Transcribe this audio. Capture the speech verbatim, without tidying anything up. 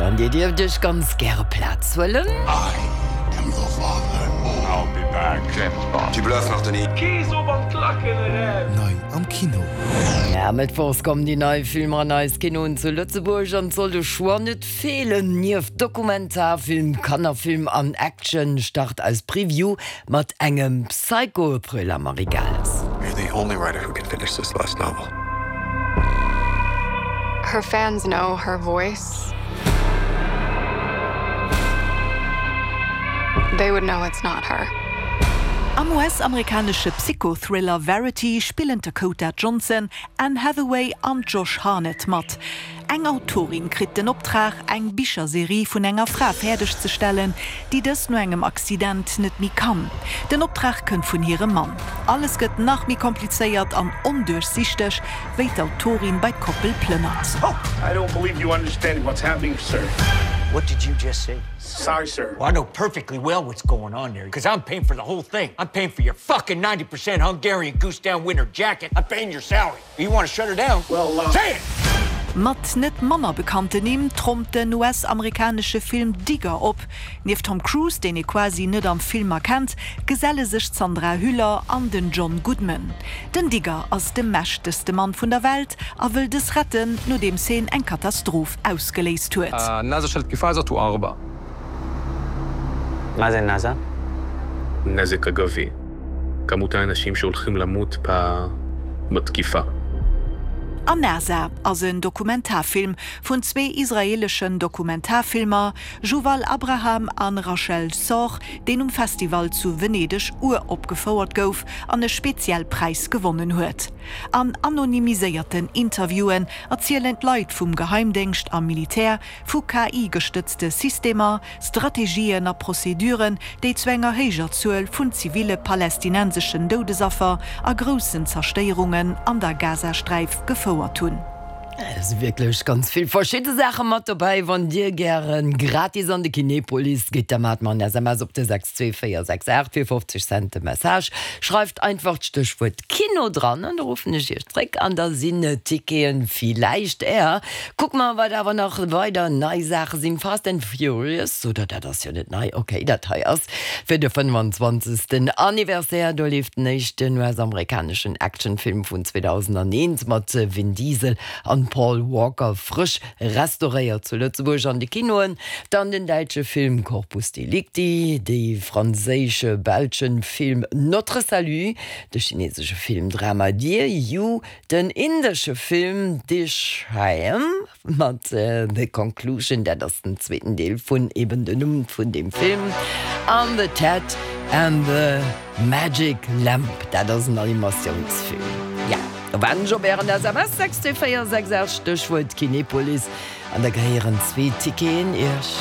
An Dir dierft iech ganz gäre Plaz huelen. I am your father. I'll be back. James Bond. Tu bluffes, Martoni. Kees op an d'Klacken eraus! Nei am Kino. Ja, mëttwochs kommen déi nei Filmer an eis Kinoen zu Lëtzebuerg an et soll de Choix net feelen. Nieft Dokumentarfilm, Kannerfilm an Action start eis Preview mat engem Psycho-Thriller, Marie Gales. You're the only writer who can finish this last novel. Her fans know her voice. They would know it's not her. Am U S-amerikanesche Psychothriller Verity spillen d'Dakota Johnson, Anne Hathaway an Josh Hartnett mat. Eng Autorin kritt den Optrag, eng Bicherserie vun enger Fra fäerdegzestellen, déi dës no engem Accident net méi kann. Den Optrag kënnt vun hirem Mann. Alles gëtt nach méi komplizéiert an onduerchsichteg, wéi d'Autorin bei d'Koppel plënnert. I don't believe you understand what's happening, sir. What did you just say? Sorry, sir. Well, I know perfectly well what's going on there, because I'm paying for the whole thing. I'm paying for your fucking ninety percent Hungarian goose down winter jacket. I'm paying your salary. You want to shut her down? Well, uh... Say it! Mat net manner bekannten Nimm trompt den U S-amerikanesche Film Digger op. Nieft Tom Cruise, deen ee quasi net am Film erkennt, geselle sech d'Sandra Hüller an den John Goodman. Den Digger ass de mächtegste Mann vun der Welt a wëll dës retten, nodeems hien eng Katastroph ausgeléist huet. מה זה נאס"א? נזק אגבי. כמות האנשים שהולכים למות בתקיפה. An-NASA ass en Dokumentarfilm vun zwee israeeleschen Dokumentarfilmer, Juval Abraham an Rachel Szor, deen um Festival zu Venedeg uropgefouert gouf an e Spezialpräis gewonnen huet. An anonymiséierten Interviewen erzielen d'Leit vum Geheimdéngscht a Militär vu K I-gestëtzte Systemer, Strategien a Prozeduren, déi zu enger héijer Zuel vun ziville palestinenseschen Doudesaffer a groussen Zerstéierungen an der Gazasträif gefouert hunn. Et si wierklech ganz vill verschidde Saache mat dobäi. Wann Dir gären gratis an de Kinepolis gitt, da maacht mer en S M S op de sechs zwee véier sechs aacht fir fofzeg Cent de Message. Schreift einfach d'Stéchwuert Kino dran an da ruffen ech Iech zréck an da sinn d'Ticketen villäicht är. Kucke mer, wat awer nach weider nei Saache sinn. Fast and Furious, oder dat ass jo net nei, okay, dat hei ass fir de fënnfanzwanzegsten Anniversaire. Do leeft den éischten U S-amerikaneschen Actionfilm vun zweedausendaneent mat Vin Diesel an Paul Walker frësch restauréiert zu Lëtzebuerg an de Kinoen, dann den däitsche Film Corpus Delicti, de franséische-belsche Film Notre Salut, de chinesesche Film Drama Dear You, den indesche Film Drishyam mat The Conclusion, dat ass den zweeten Deel vun eben den Numm vun deem Film, an The Ted and the Magic Lamp, dat ass en Animatiounsfilm. Ja, do waarden ech op ären S M S, sechs zwee véier sechs aacht, Stéchwuert Kinepolis, an da gehéieren zwee Ticketen iech.